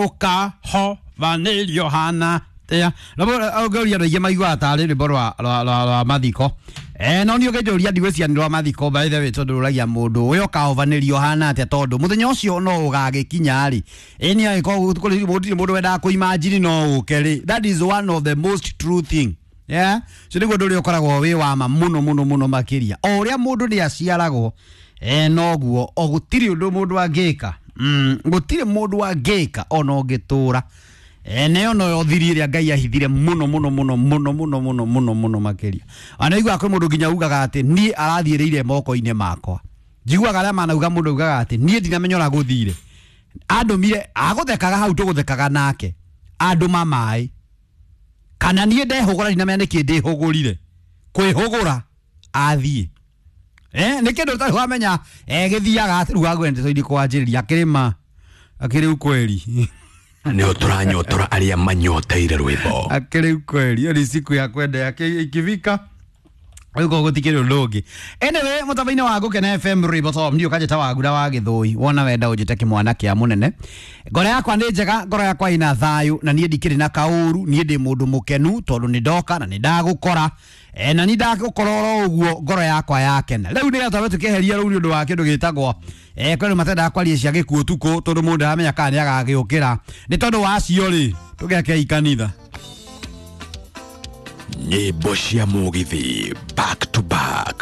Ũkahovanĩrio hana tia ũngĩũria andũ aingĩ maiguaga tarĩ rwĩmbo rwa mathiko. No niĩ ũngĩnjũria ndigwĩciria nĩ rwa mathiko, by the way, tondũ rũragia mũndũ ũyũ ũkahovanĩrio hana atĩa, tondũ mũthenya ũcio no ũgagĩkinya rĩ, ĩ nĩ agĩkorwo gũtirĩ mũndũ wendaga kũimanjini no ũke rĩ. That is one of the most true thing, yeah? So nĩguo ũndũ ũrĩa ũkoragwo wĩ wa ma mũno mũno mũno makĩria, o ũrĩa mũndũ nĩ aciaragwo, noguo o gũtirĩ ũndũ mũndũ angĩka, gũtirĩ mũndũ angĩka ona ũngĩtũra, nayo noyo thiri ĩrĩa Ngai ahithire mũno mũno mũno mũno mũno mũno mũno mũno makĩria. Ona iguaga kwĩ mũndũ nginya ugaga atĩ niĩ arathiĩrĩire moko-inĩ makwa. Njiguaga arĩa manauga, mũndũ augaga atĩ niĩ ndinamenya ũrĩa gũthire, andũmire agũthekaga hau tũgũthekaga nake andũma maĩ, kana niĩ ndehũgũra ndinamenya nĩkĩ ndĩhũgũrire kwĩhũgũra athiĩ. Nĩ kĩndũ ũtarĩ wamenya, gĩthiaga rĩu agwendete kwanjĩrĩria akĩrĩma akĩrĩ ukweli. Nä tåranyotora arĩa manyoteire rwĩmbo. Akĩrĩ ukweli, hiyo ni siku ya kwenda yake ikifika rĩu koguo gũtikĩrĩ ũndũ ũngĩ. Anyway, mũtambo-inĩ wa Gũkena FM, rwĩmbo to ndiũ kanjĩta wagura wa gĩthũi, wona wenda ũnjĩte kĩmwana kĩa mũnene. Ngoro yakwa nĩ njega, ngoro yakwa ĩna thayũ, na niĩ ndikĩrĩ na kaũru. Niĩ ndĩ mũndũ mũkenu tondũ nĩ ndoka na nĩ ndagũkora, na nĩ ndagũkora oro ũguo ngoro yakwa yakena. Rĩu nĩgetha twambe tũkĩeheria rũu nĩ ũndũ wa kĩndũ gĩtagwo, kwĩ andũ matendaga kwaria cia gĩkuũ ũtukũ tondũ mũndũ ndaramenya kana nĩ agagĩũkĩra. Nĩ tondũ wa acio rĩ, tũgekei kanitha. Nyĩmbo cia mũgithi back to back.